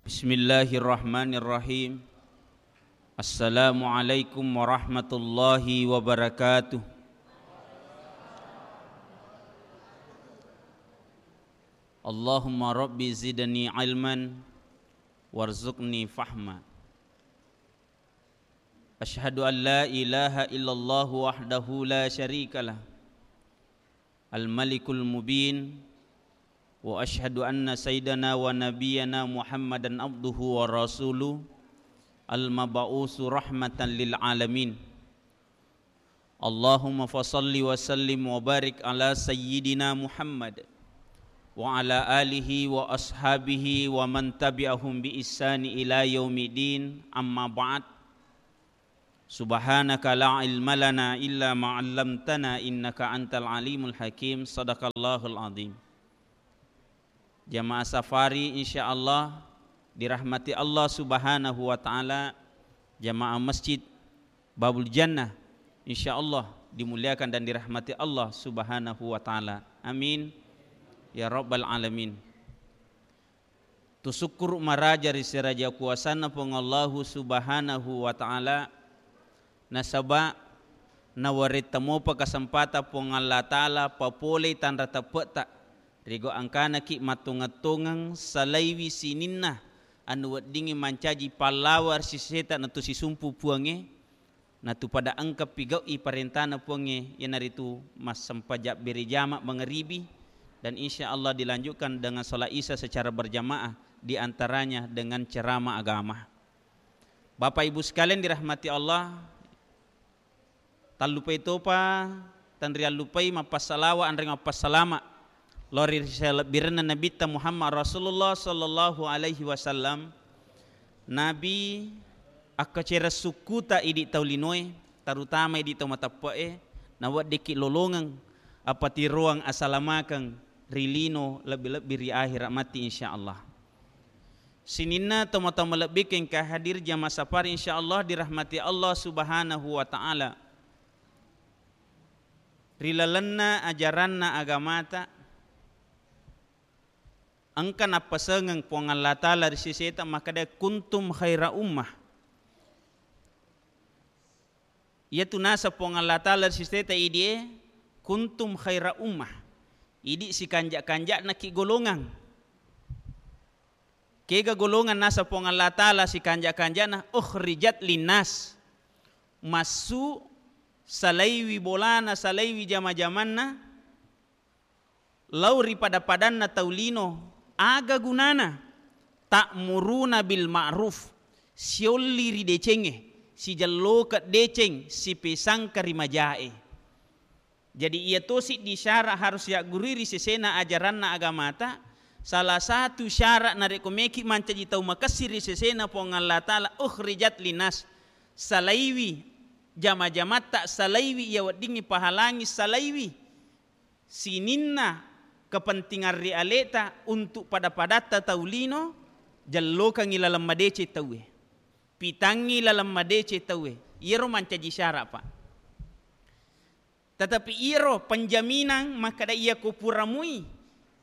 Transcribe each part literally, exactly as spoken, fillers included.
Bismillahirrahmanirrahim. Assalamualaikum warahmatullahi wabarakatuh. Allahumma rabbi zidni ilman warzuqni fahma. Asyhadu an la ilaha illallah wahdahu la syarikalah, al-malikul mubin, wa asyhadu anna sayyidana wa nabiyyana Muhammadan abduhu wa rasuluh, al-mab'usu rahmatan lil alamin. Allahumma fasalli wa sallim wa barik ala sayyidina Muhammad wa ala alihi wa ashabihi wa man tabi'ahum bi ihsani ila yaumiddin, amma ba'd. Subhanaka la ilma lana illa ma 'allamtana innaka antal alimul hakim. Sadaqallahul azim. Jamaah safari, insyaallah dirahmati Allah Subhanahu wa taala. Jamaah Masjid Babul Jannah, insyaallah dimuliakan dan dirahmati Allah Subhanahu wa taala. Amin ya rabbal alamin. Tusukkuru maraja ri seraja kuasanna Puang Allahu Subhanahu wa Ta'ala, nasaba nawaretta mopa kasempatang Puang Allah Ta'ala papolei tanra teppe'ta, rigo angkanaki mattongeng-tongeng salaiwi sininna anu weddingngi mancaji pallawa ri seseta natusisumpu Puangnge. Natu pada engka pigau'i parentana Puangnge, iyanaritu massempajang bere jama mangaribi, dan insya Allah dilanjutkan dengan salat Isya secara berjamaah, di antaranya dengan ceramah agama. Bapak Ibu sekalian dirahmati Allah, tallupai topa, tanriallupai mappasalawa anre mappassalama lao ri salebbirenna Nabitta Muhammad Rasulullah sallallahu alaihi wasallam. Nabi akkacereng sukkuta idi tau linoe, terutama idi tau mateppe'e, naweddikki lolongeng apatiroang asalamakeng ri lino, lebbi-lebbi ri ahera matti, insya Allah. Sininna tomatoa malebbiku engka hadir jamaah safari, insya Allah dirahmati Allah Subhanahu wa Ta'ala. Ri lalenna ajaranna agamata, engka nappasengeng Puang Allah Ta'ala ri seseta makkeda, "Kuntum khaira ummah." Iyatu naseng Puang Allah Ta'ala ri seseta idie, "Kuntum khaira ummah." Idi sikanja-kanja'naki golongang. Kega golongang naseng Puang Allah Ta'ala sikanja-kanja'na? "Ukhrijat linnas." Massu salaiwi bolana, salaiwi jama-jamanna, lao ri pada-padanna tau lino, aga gunana? "Ta'muruna bil ma'ruf," siolli ri decengnge, sijellokeng deceng, sipesangka ri majae. Jadi, iya tosi di syarat harus yaggurui ri sesena ajaranna agamata. Salah satu syarat narekko meki mancaji tau makessing ri sesena Puang Allah Ta'ala, "Ukhrijat linnas," salaiwi jama-jamatta, salaiwi iya weddingngi pahalangi, salaiwi sininna kepentingan ri aleta untuk pada-padatta tau lino, jellokangngi laleng madeceng tauwe, pitangngi laleng madeceng tauwe. Iyaro mancaji syarat, Pak. Tetapi iyaro penjaminan makkeda iyako pura mui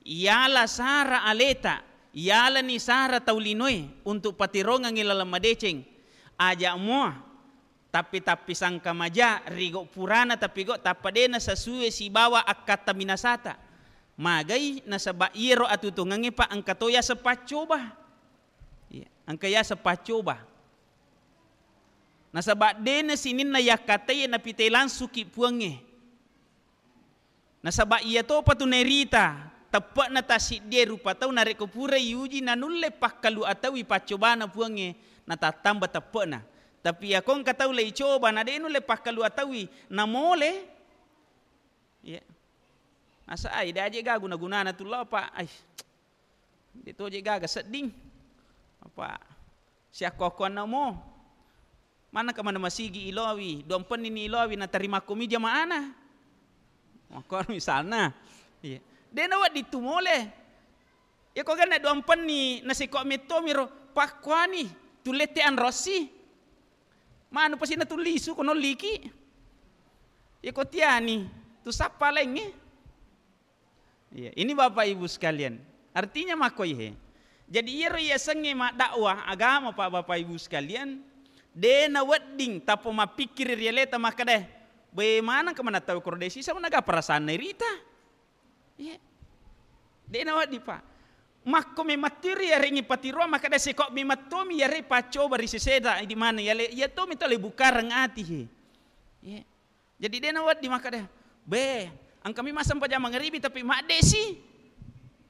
yala sara aleta, yalani sara tau linoe untuk patirongengngi laleng madeceng, aja mua tappi-tappi sangka maja, rigo purana tapigau tappa de nasesue sibawa akkatta minasata. Magai nasaba iyaro atutongengnge, Pak, engka to yaseng paccoba. Iya, engka yaseng paccoba. Nasaba de na sininna yakkataiye napitei langsungki Puangnge. Nasaba iya topa tu nairita, teppe'na tassiddie rupa tau narekko purai iuji nanulle pakkalu ataui paccobana Puangnge, natattamba teppe'na. Tapi iyako engka tau leicoba na de nulle pakkalu ataui, namole. Iya. Nasa ai, de aje ga guna-gunana tu lao, Pak. Ai. De toje gaga sedding. Apa siakko-akkoanna mo. Manaka mana masigi iloawi, duampenni ni iloawi, natarima komi jamaana. Makkoro misalna. Iya. De nawedding tu mole. Iyako ganna duampenni nasiko mettomiro, pakkuani, tullette anrossi. Manu pasi natullisu ko nolliki. Iyako tiani, tu sappa laingnge. Iya, ini Bapak Ibu sekalian. Artinya makkoi he. Jadi, iyaro yasengnge maddakwah agama, Pak, Bapak Ibu sekalian, de' nawedding tappa mappikkiri ri aleta makkeda, "Be, manengka maneng tau koro de' siseng naga perasaanna irita." Iya. De' nawedding, Pak. Makko memettiri yarengngi patiroang makkeda, "Seko memettomi yare paccoba ri seseta di mana yale, iya tomi tole bukareng ati he." Iya. Jadi, de' nawedding makkeda, "Be, engkami massempajang mangaribi tapi madde'si.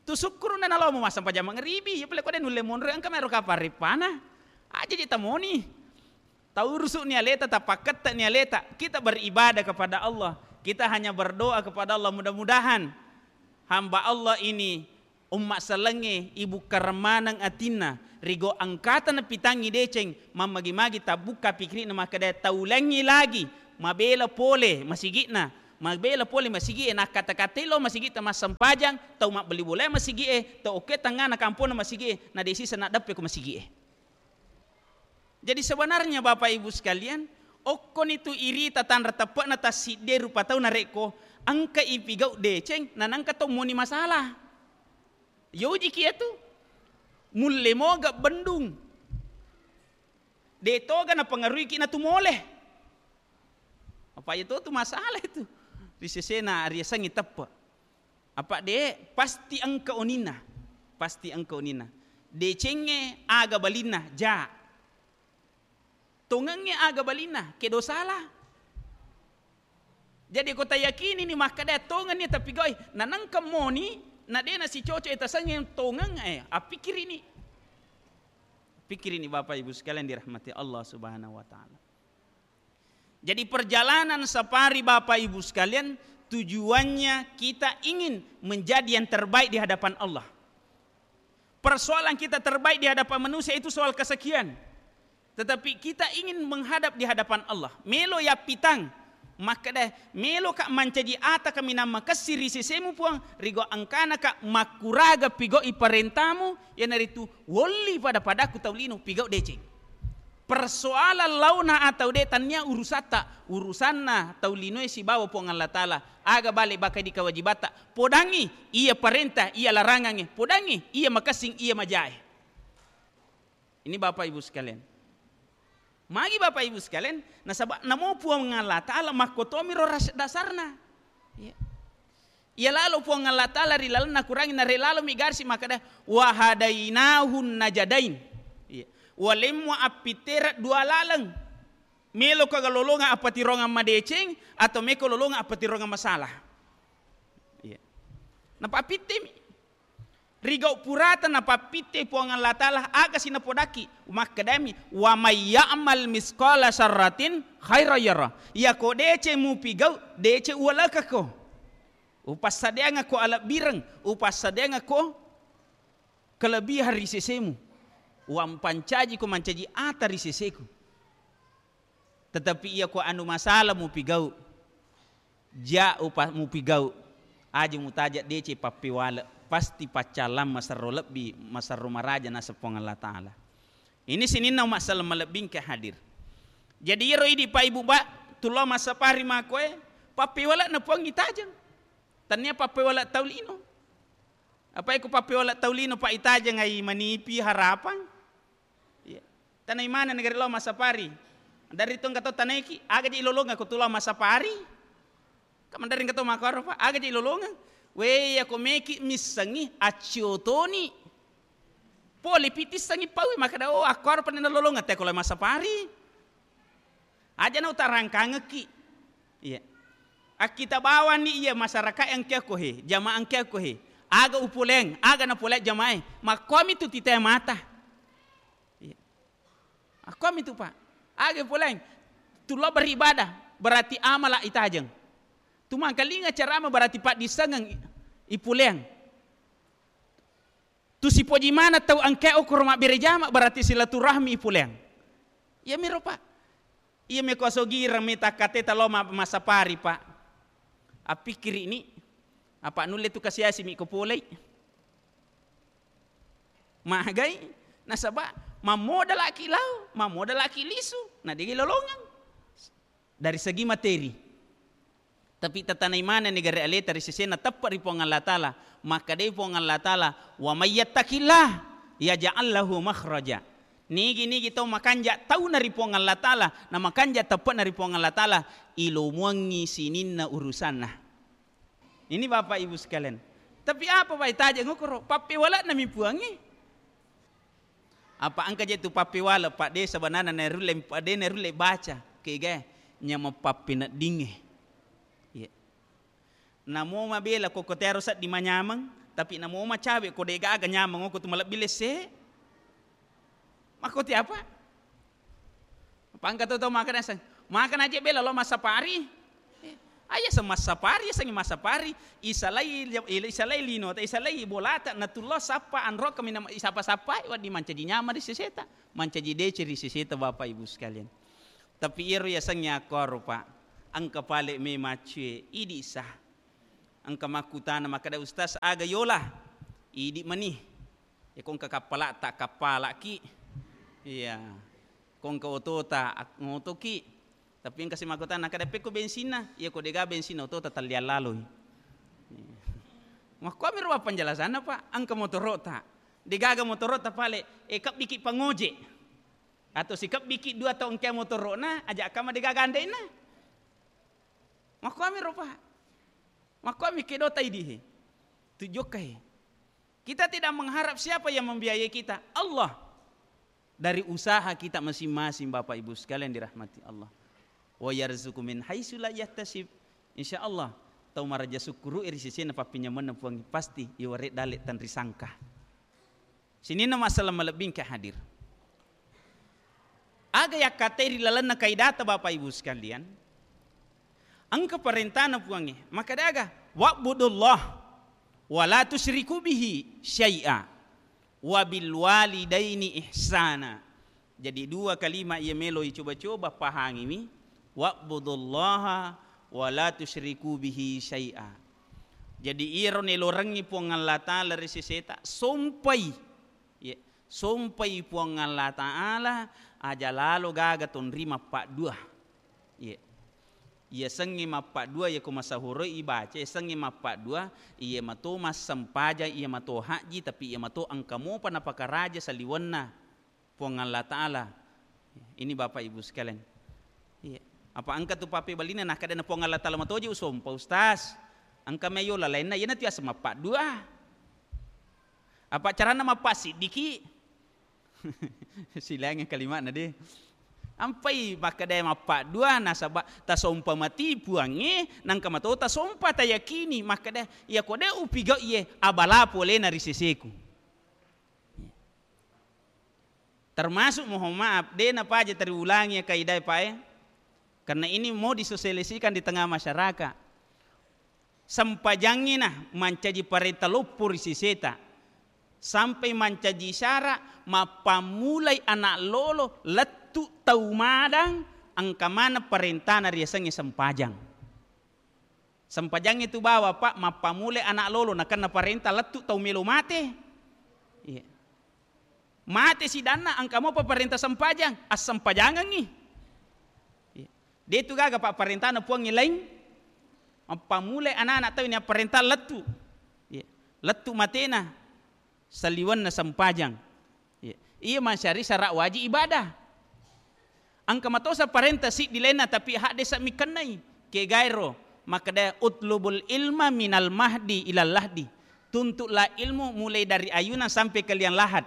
Tu sukkuruna nalomo massempajang mangaribi, iya pale ko de' nulle monro, engkami ero kapang reppana. Aja je tamoni. Taurusu'ni aleta, tapakkette'ni aleta. Kita beribadah kepada Allah. Kita hanya berdoa kepada Allah. Mudah-mudahan hamba Allah ini, umma sellengnge, ibukkareng maneng atinna, rigau engkata napitangngi deceng, mammagi-magi tabbukka pikirina makkeda taulengngi lagi, mabela pole masigi'na, mabela pole masigi'e, nakkata-katai lao masigi'ta massempajang, tau mabbali bolae masigi'e, tau okkoe tengngana kamponna masigi'e, na de' siseng naddeppe ko masigi'e." Jadi, sebenarnya, Bapak Ibu sekalian, okkoni tu irita tanra teppe'na tassiddi rupa tau narekko engka ipigau deceng, nanengka to moni masalah. Yojiki iyatu, mulle moga bendung. De' toga napengaruiki natu mole. Apa iyatu tu masalah itu. Ri sesena riasengngi teppe'. Apa de', pasti engka oninna. Pasti engka oninna. Decengnge aga balinna, ja. Tongengnge aga balinna, kedo salah. Jadi, ko tayakinini makkeda tongenni tapigau'i, nanengka moni, na de' nasicoco e tasengnge tongeng, eh, appikirini. Pikirini, Bapak Ibu sekalian dirahmati Allah Subhanahu wa Ta'ala. Jadi, perjalanan safari, Bapak Ibu sekalian, tujuannya kita ingin menjadi yang terbaik di hadapan Allah. Persoalan kita terbaik di hadapan manusia itu soal kesekian. Tetapi kita ingin menghadap di hadapan Allah. Melo yappitang, makkeda, "Meloka mancaji ata kaminang makessing ri sesemu, Puang, rigau engkanaka makkuraga pigau'i parentamu, iyanaritu wolli pada-padaku tau lino pigau deceng." Persoalan laona atau de' tannia urusatta, urusanna tau linoe sibawa Puang Allah Ta'ala. Aga bale baka di kewajibatta, podangngi iya parenta, iya larangangnge, podangngi iya makessing, iya majae. Ini Bapak Ibu sekalian. Magi Bapak Ibu sekalian, nasaba namo Puang Allah Ta'ala makkotomiro ras-, dasarna. Iya. Iya lalo Puang Allah Ta'ala ri lalenna Kurangnge, nare lalo mi garsi makkeda, "Wa hadainahun najadain." Iya. Walemmu appittera dua laleng. Meloka lolongang appatirongang madeceng atau meko lolongang appatirongang masalah. Iya. Napappittemi. Rigau purata napappitte Puang Allah Ta'ala, aga si napodakki? Makkedami, "Wa may ya'mal misqala sarratin khairan yara." Iyako deceng mupigau, deceng uwalekako. Upassadeangako alebbireng, upassadeangako kelebihan ri sesemu. Uwampancaji ko mancaji ata ri seseku. Tetapi iya ko anu masalah mupigau, ja upa-, mupigau, aja mutaja deceng pappewale, pasti paccallang maserro lebbi, maserro maraja naseng Puang Allah Ta'ala. Ini sininna umma selleng malebbingke hadir. Jadi iyaro idi Pak Ibu ba, tulao massapari makoe, pappewale'na Puang itajeng. Tannia pappewale tau lino. Apa iko pappewale tau lino, Pak, itajeng ai manipi harapang? Iya. Tanai maneng negeri lao massapari. Dari tu engka tau tanaiki, aga je ilolongeng ko tu lao massapari? Ka maderri engka tau makkoro, Pak, aga je ilolongeng? We, iya ko meki missengi, accio toni. Pole pitissengi paui, makkeda, "Oh, akkoro pa nalolongeng te ko lao massapari." Aja na utarangkangekki. Iya. Akkita bawanni iya masyarakat engka ko he, jamaah engka ko he. Aga upoleang, aga napoleang jamaah e. Makkomi tu titae mata. Iya. Akkomi tu, Pak. Aga upoleang. Tu lao beribadah, berarti amala itajeng. Tu mangkalinga ceramah berarti paddissengeng ipoleang. Tu sipoji maneng tau engkae okoro mabbere jama, berarti silaturahmi ipoleang. Iyamiro, Pak. Iya meko asogireng meta kateta lao ma-, massapari, Pak. Appikkiri'ni, apa nulle tu kasiasi mi ko polei? Magai, nasaba mammodalaki lao, mammodalaki lisu, na degi lolongeng. Dari segi materi. Tapi tatanai manenni gare aleta ri sesena teppe ri Puang Allah Ta'ala. Makkedai Puang Allah Ta'ala, "Wa may yattaqillah." Yaj'al lahu makhraja. Nigi-nigi tau makanja tauna ri Puang Allah Ta'ala, na makanja teppe'na ri Puang Allah Ta'ala, ilomuangngi sininna urusanna. Ini Bapak Ibu sekalian. Tapi apa, Pak, itaja ngokoro? Pappewale'na mi Puangnge. Apa engka je tu pappewale, Pak, de sebenarna nerulle, Pak, de nerulle baca. Kega nyameng pappeneddingnge. Iya. Namo mabela ko, ko tearo seddi manyameng, tapi namo macawe ko de gaga nyameng, ko tu malebbi lesse. Makko ti apa? Pangka to, to makan aseng. Makan aja bela lo massapari. Eh, aja se massapari, asengngi massapari. Isalai, isalai lino, ta isalai bolata, natullo sappa, anro kami nama isapa-sapai, waddi mancaji nyama ri seseta. Mancaji dece ri seseta, Bapak Ibu sekalian. Tapi iyaro yasengnge akkoro, Pak. Engka pale me maccue, idi sa. Engka makkutana makkeda, "Ustaz, aga yola?" Idi mani. Ya, ko engka kappala'ta, kappala'ki. Iya. Ko engka otota, ak-, ngotoki. Tapi engka si makkutana, "Kada pekko bensinna?" Iya, ko dega bensinna, otota talliang laloi. Iya. Makkuami ro penjelasanna, Pak. Engka motorota. Degaga motorota pale, eh, kebbiki pangoje. Atau sikebbiki dua tau engka motorona, aja kama degaga ande'na. Makkuami ro, Pak. Makkuami kedo taidi he. Tujokka he. Kita tidak mengharap siapa yang membiayai kita. Allah. Dari usaha kita masing-masing, Bapak Ibu sekalian dirahmati Allah. Wa yarzuqu min haitsu la yahtasib. Insya Allah, tau maraja sukkuru ri sesena pappinyamenna Puang, pasti iware dale tanri sangka. Sininna masalah malebbi engka hadir. Aga yakkatai ri lalenna kaidata, Bapak Ibu sekalian? Engka parentana Puangnge, makkeda aga? "Wa'budullah wa la tusyriku bihi syai'a wa bil walidaini ihsana." Jadi dua kalimat iya melo icoba-coba pahangiwi, "Wa'budullaha wa la tusyriku bihi syai'a." Jadi iyaro nelorengngi Puang Allah Ta'ala ri seseta, sompai. Iya, sompai Puang Allah Ta'ala, aja lalo gaga tonri mappaddua. Iya. Iyasengnge mappaddua, iya ko masahuroi ibaca, iyasengnge mappaddua, iya mato massempajang, iya mato hajji, tapi iya mato engka mopa napakaraja saliwenna Puang Allah Ta'ala. Ini Bapak Ibu sekalian. Iya. Apa engka tu pappebalina, nakkeda na Puang Allah Ta'ala matoji usompa, Ustaz. Engka meyo lalainna, iyana tu yaseng mappaddua. Apa carana mappasiddiki? Silaingngi kalimana de. Ampai makkeda mappaddua, nasaba tasompa mati Puangnge, nangka mato tasompa tayakini, makkeda, "Iya ko de upigau iye, abala polena ri seseku." Termasuk, mohon maaf, de napaja tariulangi ya kaidae pae, karena ini mau disosialisasikan di tengah masyarakat. Sempajangnge na mancaji parenta loppo ri seseta, sampai mancaji syarat mappammulai anak lolo lettu tau madang, engka maneng parentana riasengnge sempajang. Sempajangnge tu bawa, Pak, mappammulai anak lolo, nakenna parenta lettu tau melo mate. Iya. Mate sidanna, engka mopa parenta sempajang, assempajangengngi. Iya. De tu gaga, Pak, parentana Puangnge laing. Mappammulai anak-anak tau ini parenta lettu. Iya. Lettu matena saliwenna sempajang. Iya. Iya masyari syarat wajib ibadah. Engka matosa parenta siddi lainna, tapi hadde sa mikennai. Kegaero, makkeda, "Utlubul ilma minal mahdi ilal lahdi." Tuntutlah ilmu mulai dari ayunan sampai ke liang lahat.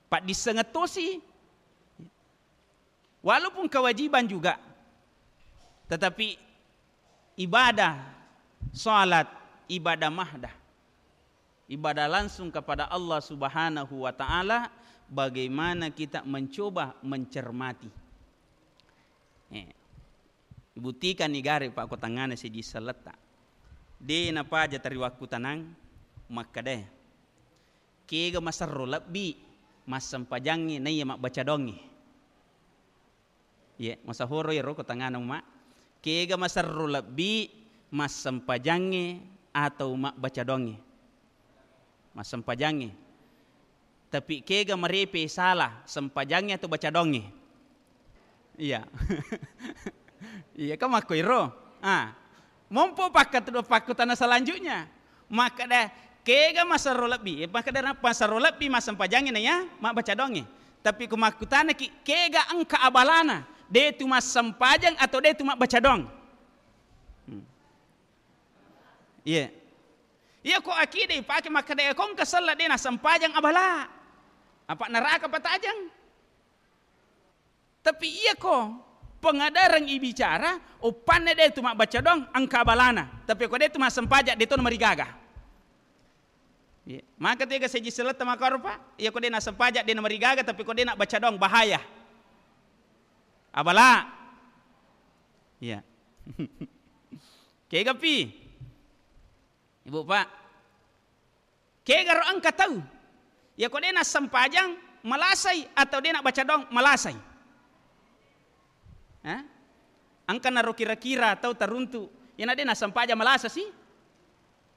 Paddissengeng tosi. Walaupun kewajiban juga, tetapi ibadah salat, ibadah mahdah, ibadah langsung kepada Allah Subhanahu wa Ta'ala, bagaimana kita mencoba mencermati. Eh, ibuktikan ni gare, Pak, ko tangngana siji selletta. De napaja tariwakkutanang makkeda, kega maserro lebbi massempajangnge naiya mabbaca doangnge. Ye, masahoro iyaro ko tangngana umma. Kega maserro lebbi massempajangnge atau mabbaca doangnge? Massempajangnge. Tapi kega marepe sala, sempajangnge atau baca doangnge? Iya. Iya, kan makkoiro. Ah. Mompo pakkat-, pakkutana selanjutnya. Makkeda, Kega masero lebbi? Eh, makkedara masero lebbi massempajangnge naiya mabbaca doangnge. Tapi ku makkutanaki, kega engka abalana? De' tu massempajang atau de' tu mabbaca doang? Hmm. Iya. Iya ko akidah ipake makkeda, ko engka selleng de' nassempajang abala. Apa neraka patajang? Tapi iya ko pengadareng ibicara, uppanna de' tu mabbaca doang, engka abalana. Tapi ko de' tu massempajang, de' to namarigaga. Iya. Maka tu ega seji selletta makaro, Pak. Iya ko de' nassempajang, de' namarigaga, tapi ko de' nabbaca doang, bahaya. Abala. Iya. Kega pi? Ibu, Pak. Kegaro engka tau, iya ko de' nassempajang malasai atau de' nabbaca doang malasai? Hah? Engka naro kira-kira tau taruntu, iyana de' nassempajang malasa si?